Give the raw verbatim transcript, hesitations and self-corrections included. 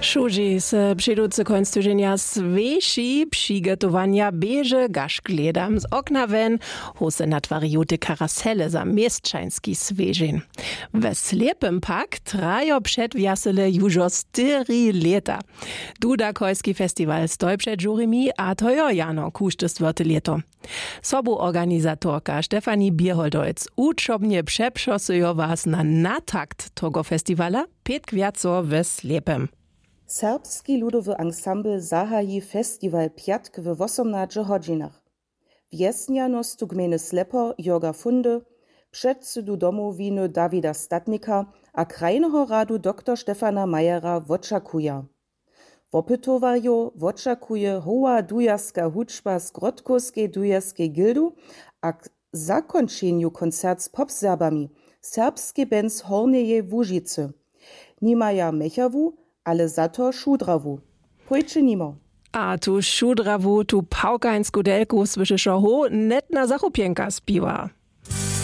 Šudźi se předucy kónc tyźenja swěši přigotowanja běže gašk hledam z okna wjen. Hose natwari žołte karasele za měsćański swěžeń. We slěpym pak trajo předwjasele južo štyri lěta. Dudakojski festiwal stoj před žurimi a to jo jano kužde stwórte lěto. Sobuorganizatorka stefanie běholdojc wučobnje přepřosyjo was na natakt togo festiwala pětk wjaco we slěpym. Serbski ludowy ansambl zahaji festiwal pjatk we wosomnaće hodźinach. Wjesnjanostu gmejny slepo jorga fundy, předsydu domowiny dawida statnika a krajneho radu doktor stefana majera wočakuja. Wopytowarjow wočakuje hoła dujerska hudźba z grodkowskej dujerskej gildu a k zakónčenju koncert z popserbami serbskej bens hornjeje łužicy. Nimaja měchawu, ale za to šudrawu. Pójće nimo. A tu šudrawu tu pawkańsku delku słyšeše ho net na zachopjenka spiwa.